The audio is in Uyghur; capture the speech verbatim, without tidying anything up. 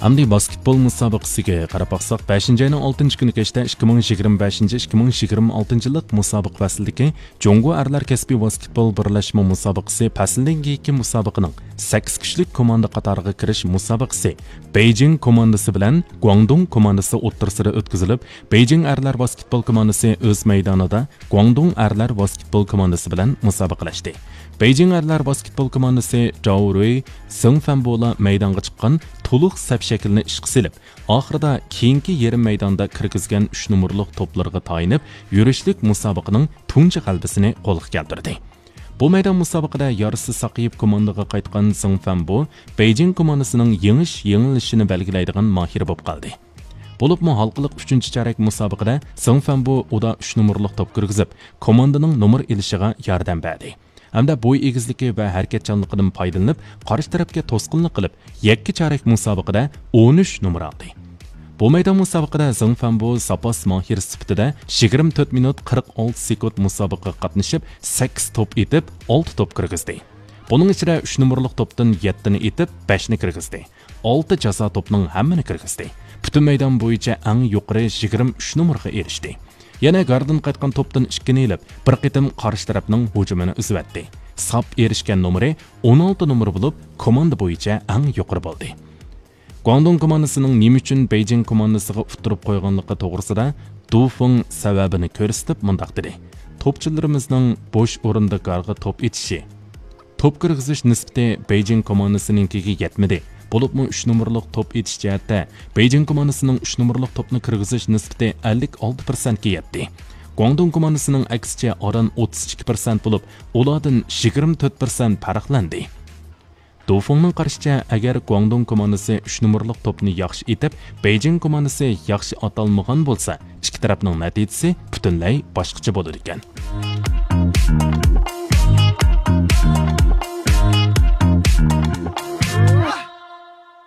ئەمدى ۋاسكېتبول مۇسابىقىسىگە قاراپ باقساق، بەشىنچى ئاينىڭ ئالتىنچى كۈنى كەچتە ئىككى مىڭ يىگىرمە بەشىنچى، ئىككى مىڭ يىگىرمە ئالتىنچى يىللىق مۇسابىقە پەسلىدىكى جۇڭگو ئەرلەر كەسپىي ۋاسكېتبول بىرلەشمە مۇسابىقىسى پەسىلدىن كېيىنكى مۇسابىقىنىڭ سەككىز كۈچلۈك كوماندا قاتارىغا كىرىش مۇسابىقىسى بېيجىڭ كوماندىسى بىلەن گۇاڭدۇڭ كوماندىسى ئوتتۇرىسىدا ئۆتكۈزۈلۈپ، بېيجىڭ ئەرلەر ۋاسكېتبول كوماندىسى ئۆز مەيدانىدا گۇاڭدۇڭ ئەرلەر ۋاسكېتبول كوماندىسى بىلەن مۇسابىقىلەشتى. بېيجىڭ ئەرلەر ۋاسكېتبول كوماندىسى جاۋ رۇي، سېڭ فەنبولا مەيدانغا چىققان تولۇق سەپ شەكلىنى ئىشقا سېلىپ، ئاخىرىدا كېيىنكى يېرىم مەيداندا كىرگۈزگەن ئۈچ نومۇرلۇق توپلىرىغا تايىنىپ، يۈرۈشلۈك مۇسابىقىنىڭ تۇنجى غەلىبىسىنى قولغا كەلتۈردى. بۇ مەيدان مۇسابىقىدە يارىسى ساقىيىپ كوماندىغا قايتقان سېڭ فەنبو بېيجىڭ كوماندىسىنىڭ يېڭىش-يېڭىلىشىنى بەلگىلەيدىغان ماھىرى بولۇپ قالدى. بولۇپمۇ ھالقىلىق ئۈچىنچى چارەك مۇسابىقىدە سېڭ فەنبو ئۇدا ئۈچ نومۇرلۇق توپ كىرگۈزۈپ، كوماندىنىڭ نومۇر ئېلىشىغا ياردەم بەردى. ھەمدە بوي ئېگىزلىكى ۋە ھەرىكەتچانلىقىدىن پايدىلىنىپ، قارشى تەرەپكە توسقۇنلۇق قىلىپ، يەككە چارەك مۇسابىقىدە ئون ئۈچ نومۇر ئالدى. بۇ مەيدان مۇسابىقىدە زېڭ فەنبو زاپاس ماھىرى سۈپىتىدە يىگىرمە تۆت مىنۇت قىرىق ئالتە سېكۇنت مۇسابىقىگە قاتنىشىپ، سەككىز توپ ئېتىپ، ئالتە توپ كىرگۈزدى. بۇنىڭ ئىچىدە ئۈچ نومۇرلۇق توپتىن يەتتىنى ئېتىپ، بەشنى كىرگۈزدى. ئالتە جازا توپنىڭ ھەممىنى كىرگۈزدى. پۈتۈن مەيدان بويىچە ئەڭ يۇقىرى يىگىرمە ئۈچ نومۇرغا ئېرىشتى. يەنە گاردىن قايتقان توپتىن ئىككىنى ئېلىپ، بىر قېتىم قارشى تەرەپنىڭ ھۇجۇمىنى ئۈزۈۋەتتى. ساپ ئېرىشكەن نومۇرى ئون ئالتە نومۇر بولۇپ، كوماندا بويىچە ئەڭ يۇقىرى بولدى. گۇاڭدۇڭ كوماندىسىنىڭ نېمە ئۈچۈن بېيجىڭ كوماندىسىغا ئۇتتۇرۇپ قويغانلىقى توغرىسىدا دۇ فېڭ سەۋەبىنى كۆرسىتىپ مۇنداق دېدى: توپچىلىرىمىزنىڭ بوش ئورۇندا گارغا توپ ئېتىشى، توپ كىرگۈزۈش نىسبىتى بېيجىڭ كوماندىسىنىڭكىگە يەتمىدى. بولۇپمۇ ئۈچ نومۇرلۇق توپ ئېتىش جەھەتتە بېيجىڭ كوماندىسىنىڭ ئۈچ نومۇرلۇق توپنى كىرگۈزۈش نىسبىتى ئەللىك ئالتە پىرسەنتكە يەتتى. گۇاڭدۇڭ كوماندىسىنىڭ ئەكسىچە ئاران ئوتتۇز ئىككى پىرسەنت بولۇپ، ئۇلاردىن يىگىرمە تۆت پىرسەنت پەرقلەندى. دۇ فېڭنىڭ قارىشىچە، ئەگەر گۇاڭدۇڭ كوماندىسى ئۈچ نومۇرلۇق توپنى ياخشى ئېتىپ، بېيجىڭ كوماندىسى ياخشى ئاتالمىغان بولسا، ئىككى تەرەپنىڭ نەتىجىسى پۈتۈنلەي باشقىچە بولىدىكەن.